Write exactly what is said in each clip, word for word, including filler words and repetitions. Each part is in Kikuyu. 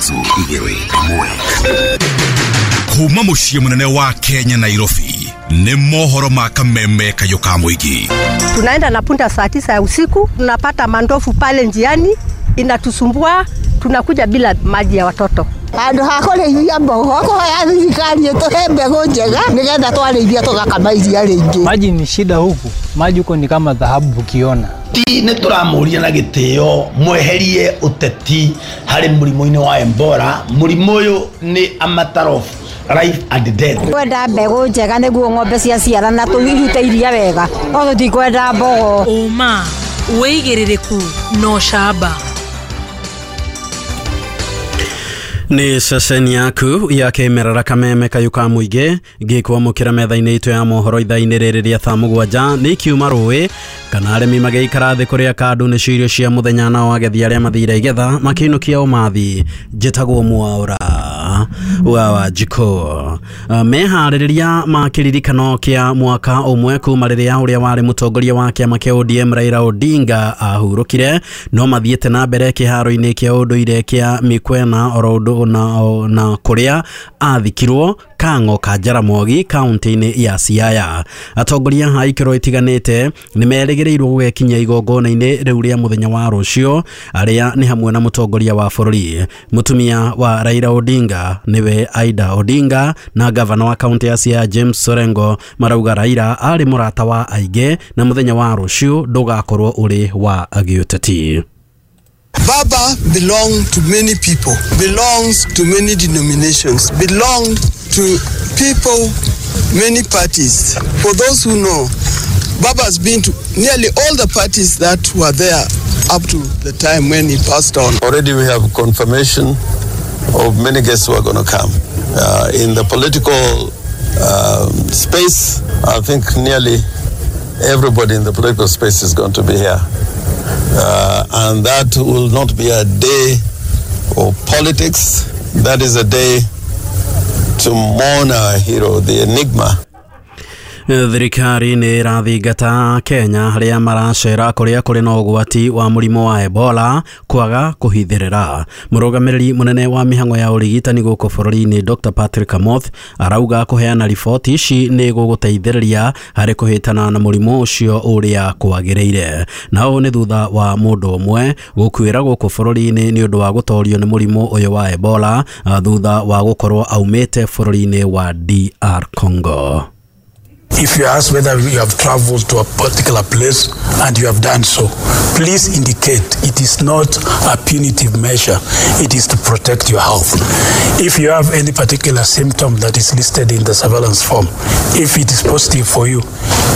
Ithatũ, igĩrĩ, ĩmwe. Kuma mũciĩ mũnene wa Kenya, Nairobi, nĩ mohoro ma kameme kayũ ka mũingĩ. Tunaenda na punda saa tisa ya usiku, tunapata mandofu pale njiani, inatusumbua, tunakuja bila maji ya watoto. Handũ ha kũrĩithia mbogo kũhoya thirikari ĩtũhe mbegũ njega nĩgetha twarĩithia tũgakama iria rĩingĩ. Maji ni shida huku, maji huko ni kama dhahabu ukiona. Ti nĩ tũramũria na gĩtĩo mweherie ũteti harĩ mũrimũ-inĩ wa Ebola. Mũrimũ ũyũ nĩ a matter of life and death. Kwenda mbegũ njega nĩguo ng'ombe ciaciarana tũirute iria wega, no tũtikwenda mbogo. Ũma, wĩigĩrĩrĩku na ũcamba. Nĩ ceceni yaku ya kĩmerera kameme kayũ ka mũingĩ ngĩkwamũkĩra metha-inĩ itũ ya mohoro ithaa-inĩ rĩrĩ rĩa thaa mũgwanja. Nĩ ikiuma rũĩ kana arĩmi magĩikara thĩ kũrĩa kandũ nĩcio irio cia mũthenya, nao agethi arĩa mathire igetha makĩinũkia ũmathi. Njĩtagwo Mwaũra wa Wanjikũ. Meharĩrĩria ma kĩririkano kĩa mwaka ũmwe kuma rĩrĩa ũrĩa warĩ mũtongoria wa kĩama kĩa O D M Raila Odinga ahurũkire no mathiĩte na mbere kĩharo-inĩ kĩa ũndũire kĩa Mikwena oro ũndũ na, na kũrĩa athikirwo Kang'o ka Jaramogi kaunti-inĩ ya Siaya. Atongoria a ikĩro itiganĩte nĩ merĩgĩrĩirwo gũgekinyia igongona-inĩ rĩu rĩa mũthenya wa rũciũ, arĩa nĩ hamwe na mũtongoria wa bũrũri, mũtumia wa Raila Odinga nĩwe Aida Odinga, na gavana wa kaunti ya Siaya James Orengo. Marauga Raila arĩ mũrata wa aingĩ na mũthenya wa rũciũ ndũgakorwo ũrĩ wa gĩũteti. Baba belonged to many people, belongs to many denominations, belonged to people, many parties. For those who know, Baba has been to nearly all the parties that were there up to the time when he passed on. Already we have confirmation of many guests who are going to come. Uh, in the political um, space, I think nearly everybody in the political space is going to be here. Uh, and that will not be a day of politics. That is a day to mourn our hero, the enigma. Thirikari nĩ ĩrathingata Kenya arĩa maracera kũrĩa kũrĩ na ũgwati wa mũrimũ wa Ebola kwaga kũhithĩrĩra. Mũrũgamĩrĩri mũnene wa mĩhang'o ya ũrigitani gũkũ bũrũri-inĩ Doctor Patrick Amoth arauga kũheana riboti ici nĩ gũgũteithĩrĩria harĩ kũhĩtana na mũrimũ ũcio ũrĩa kwagĩrĩire. Na ũũ nĩ thutha wa mũndũ ũmwe gũkuĩra gũkũ bũrũri-inĩ nĩ ũndũ wa gũtorio nĩ mũrimũ ũyũ wa Ebola thutha wa gũkorwo aumĩte bũrũri-inĩ wa D R Congo. If you ask whether you have traveled to a particular place and you have done so, please indicate. It is not a punitive measure. It is to protect your health. If you have any particular symptom that is listed in the surveillance form, if it is positive for you,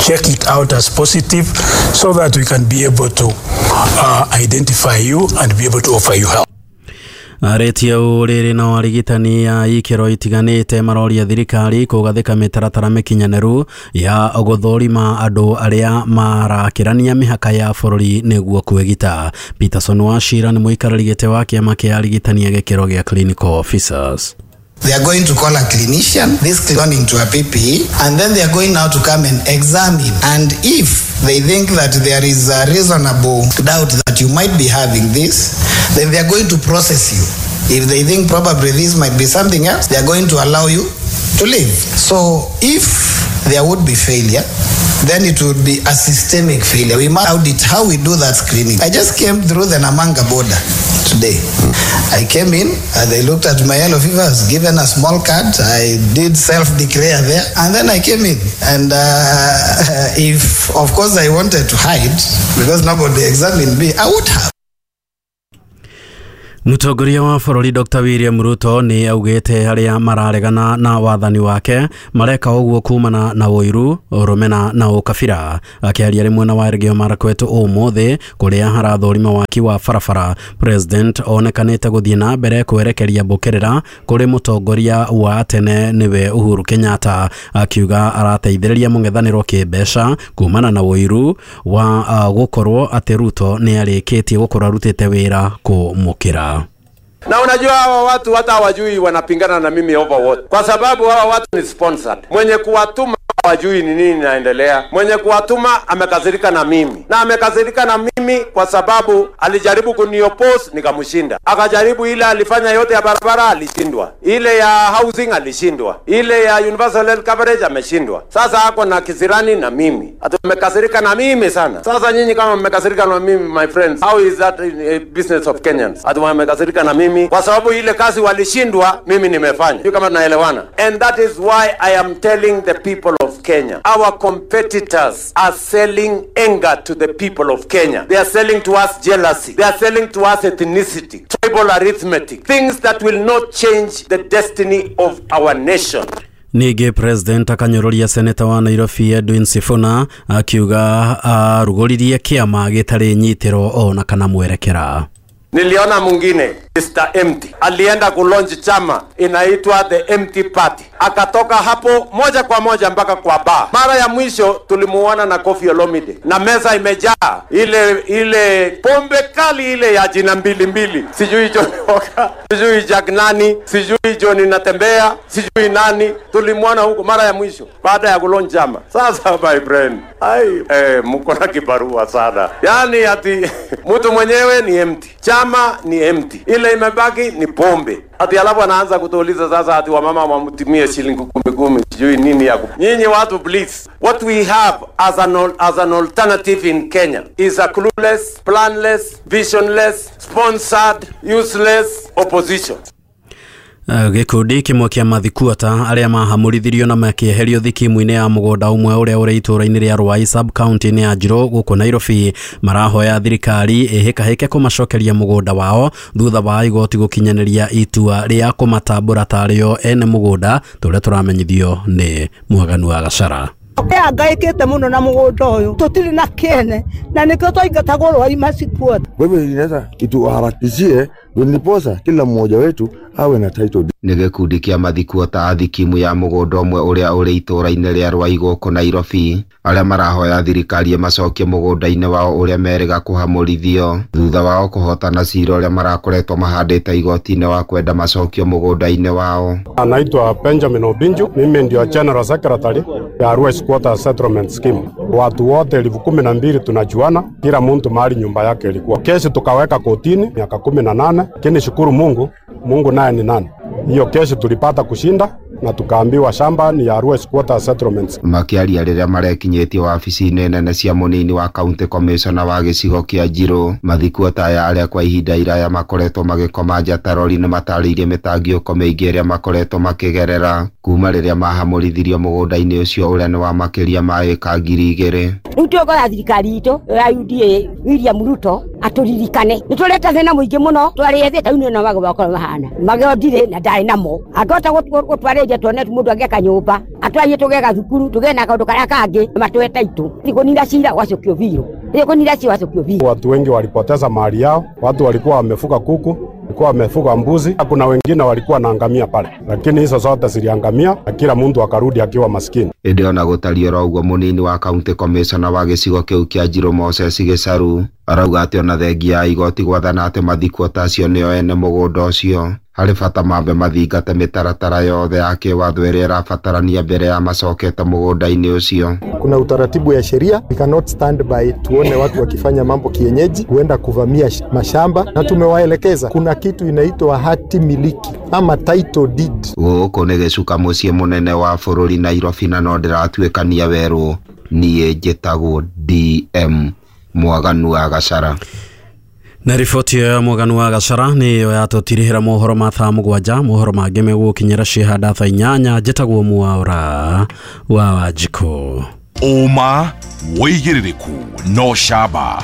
check it out as positive so that we can be able to uh, identify you and be able to offer you help. Arĩtie ũũ rĩrĩ nao arigitani a ikĩro itiganĩte maroria thirikari kũgathĩka mĩtaratara mĩkinyanĩru ya gũthũrima andũ arĩa marakĩrania mĩhaka ya bũrũri nĩguo kwĩgita. Peterson Wachira nĩ mũikarĩri gĩtĩ wa kĩama kĩa arigitani a gĩkĩro gĩa clinical officers. They are going to call a clinician, this clinician into a P P E, and then they are going now to come and examine. And if they think that there is a reasonable doubt that you might be having this, then they are going to process you. If they think probably this might be something else, they are going to allow you to leave. So if there would be failure, then it would be a systemic failure. We must audit how we do that screening. I just came through the Namanga border today. I came in, and they looked at my yellow fever, I was given a small card. I did self-declare there, and then I came in. And uh, if, of course, I wanted to hide, because nobody examined me, I would have. Mũtongoria wa bũrũri Doctor William Ruto nĩ augĩte arĩa mararegana na wathani wake mareka ũguo kumana na ũiru, rũmena na ũkabira. Akĩaria rĩ mwena wa Elgeyo Marakwet ũmũthĩ kũrĩa harathũrima waki wa barabara, President onekanĩte gũthiĩ na mbere kwerekeria mbũkĩrĩra kũrĩ mũtongoria wa tene nĩwe Uhuru Kenyatta, akiuga arateithĩrĩria mũng'ethanĩro kĩmbeca kumana na ũiru wa uh, gũkorwo atĩ Ruto nĩ arĩkĩtie gũkorwo arutĩte wĩra kũmũkĩra. Na unajua hawa watu hata hawajui wanapingana na mimi over what, kwa sababu hawa watu ni sponsored. Mwenye kuwatuma Hawajui ni nini inaendelea. Mwenye kuwatuma amekasirika na mimi, na amekasirika na mimi kwa sababu alijaribu kuniopose nikamshinda, akajaribu ile alifanya yote ya barabara alishindwa, ile ya housing alishindwa, ile ya universal health coverage ameshindwa. Sasa ako na kisirani na mimi, ati amekasirika na mimi sana. Sasa nyinyi kama mmekasirika na mimi, my friends, how is that a business of Kenyans? Ati wamekasirika na mimi kwa sababu ile kazi walishindwa, mimi nimefanya. Sio kama tunaelewana? And that is why I am telling the people of Kenya, our competitors are selling anger to the people of Kenya. They are selling to us jealousy. They are selling to us ethnicity, tribal arithmetic, things that will not change the destiny of our nation. Ningĩ president akanyũrũria seneta wa Nairobi Edwin Sifuna akiuga arugũririe kĩama gĩtarĩ nyitĩro ona kana mwerekera. Niliona mwingine Mister Empty alienda kulaunch chama inaitwa The Empty Party, akatoka hapo moja kwa moja mpaka kwa bar. Mara ya mwisho tulimuona na Koffi Olomide na meza imejaa ile ile pombe kali ile ya jina mbili mbili, sijui John Walker, sijui Jack nani, sijui John Natembea, sijui nani. Tulimuona huko mara ya mwisho baada ya kulaunch chama. Sasa my friend, ai eh, mko na kibarua sana. Yani ati mtu mwenyewe ni empty, chama ni empty, ile imebaki ni pombe. Ati alafu anaanza kutuuliza sasa ati wamama wamtumie shilingi kumi kumi, sijui nini ya. Nyinyi watu please, what we have as an as an alternative in Kenya is a clueless, planless, visionless, sponsored, useless opposition. Gĩkundi kĩmwe kĩa mathikuata arĩa mahamũrithirio na makĩeherio thikimu-inĩ ya mũgũnda ũmwe ũrĩa ũrĩ itũũra-inĩ rĩa Ruai sub county-inĩ ya Njirũ gũkũ Nairobi marahoya thirikari ĩhĩkahĩke kũmacokeria mũgũnda wao thutha wa igoti gũkinyanĩria itua rĩa kũmatambũra tarĩo ene mũgũnda tũrĩa tũramenyithio nĩ Mwaganu wa Gachara. Angaikite muno na mugunda uyu tutiri na kiene na nikio twaingatagwo Ruai masikuota. Kwa hivyo inaweza ituharakishie ndiposa kila mmoja wetu awe na title deed. Nĩ gĩkundi kĩa mathikuota a thikimu ya mũgũnda ũmwe ũrĩa ũrĩ itũũra-inĩ rĩa Ruai gũkũ Nairobi arĩa marahoya thirikari ĩmacokie mũgũnda-inĩ wao ũrĩa merĩga kũhamũrithio thutha wao kũhotana cira ũrĩa marakoretwo mahandĩte igoti-inĩ wa kwenda macokio mũgũnda-inĩ wao. Anaitwa Benjamin Obinju, mimi ndio General Secretary ya Ruai Squatter Settlement Scheme. Watu wote elfu kumi na mbili tunajuana, kila mtu mahali nyumba yake ilikuwa. Kesi tukaweka kotini miaka kumi na nane, lakini shukuru Mungu, Mungu naye ni nani. Hiyo kesi tulipata kushinda na tukaambiwa shamba ni ya Ruai Squatter Settlements. Makiaria rĩrĩa marekinyĩtie wabici-inĩ nene cia mũnini wa county commissioner wa gĩcigo kĩa Njirũ, mathikuota aya arĩa kwa ihinda iraya makoretwo magĩkoma nja ta rori nĩ matarĩirie mĩtangĩko mĩingĩ ĩrĩa makoretwo makĩgerera kuma rĩrĩa mahamũrithirio mũgũnda-inĩ ũcio ũrĩa nĩ wa makĩria ma ĩka ngiri igĩrĩ. Rĩu twĩhokaga thirikari itũ ya U D A William Ruto atũririkane nĩ tũreta thĩna mũingĩ mũno twarĩethete rĩu nĩ magego makorwo mahana magego ndirĩ na ndarĩ namo angĩhota gũtwarĩria tuone mũndũ angĩaka nyũmba atwarie tũgeka thukuru tũgĩe na kaũndũ karĩa kangĩ matũhe taitũ kũnina cira gwacokio biũ kũnina cira gwacokio biũ. Watu wengi walipoteza mali yao, watu walikuwa wamefuga kuku, walikuwa wamefuga mbuzi, kuna wengine walikuwa na ngamia pale, lakini hizo zote ziliangamia na kila mtu akarudi akiwa maskini. Ĩndĩ ona gũtariĩ oro ũguo mũnini wa county commissioner wa gĩcigo kĩu kĩa Njirũ Moses Gĩcaru arauga atĩ ona thengia ya igoti gwathana atĩ mathikuota acio nĩo ene mũgũnda ũcio harĩ bata mambe mathingate mĩtaratara yothe ya kĩwatho ĩrĩa ĩrabatarania mbere ya macokete mũgũnda-inĩ ũcio. Kuna utaratibu ya sheria, we cannot stand by tuone watu wakifanya mambo kienyeji, huenda kuvamia mashamba, na tumewaelekeza kuna kitu inaitwa hati miliki ama title deed. Gũkũ nĩ gĩcuka mũciĩ mũnene wa bũrũri Nairobi na no ndĩratuĩkania werũ. Niĩ njĩtagwo D M Mwaganu wa Gachara. Na riboti ya Mwaganu wa Gachara nĩyo yatũtirihĩra mohoro ma thaa mũgwanja. Mohoro mangĩ megũkinyĩra cihanda thaa inyanya. Njĩtagwo Mwaura wa Wanjikũ. Ũma wĩigĩrĩrĩku no camba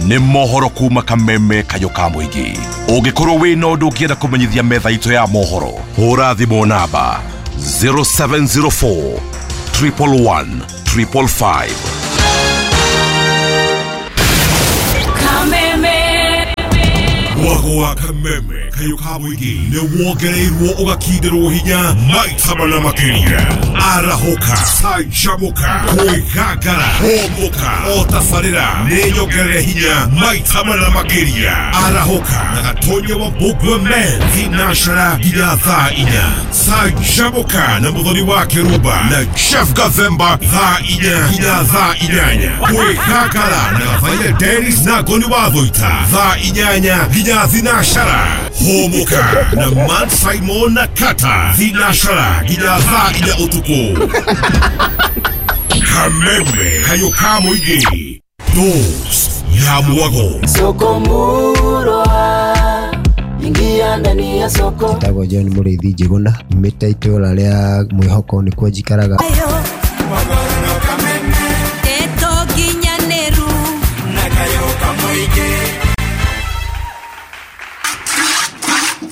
nĩ mohoro kuma kameme kayũ ka mũingĩ. Ũngĩkorwo wĩna ũndũ ũngĩenda kũmenyithia metha itũ ya mohoro, hũra thimũ namba zero seven zero four triple one triple five. Mwago wa kameme kayo ka mũingĩ nĩ wongereirwo ũgakindĩrwo hinya maita mana makĩria. Arahũka, canjamũka, kwĩgangara, hũmũka, o tabarĩra nĩ nyongerere hinya maita mana makĩria. Arahũka na Gatonya wa Mbũngua Men thinacara nginya thaa inya. Canjamũka na Mũthoni wa Kĩrumba na Jeff Gathemba thaa inya nginya thaa inyanya. Kwĩgangara na Gathaia Dennis na Ngoni wa Thũita thaa inyanya nginya thinacara. Hũmũka na Matt Simon na Kata thinacara nginya thaa inya ũtukũ. Kameme kayo ka mũingĩ, Dose ya mwago. Soko murwa, ingia ndani ya soko. Njĩtagwo John Mũrĩithi Njĩgũna, nyumĩte itũũra rĩa Mwĩhoko nĩkuo njikaraga.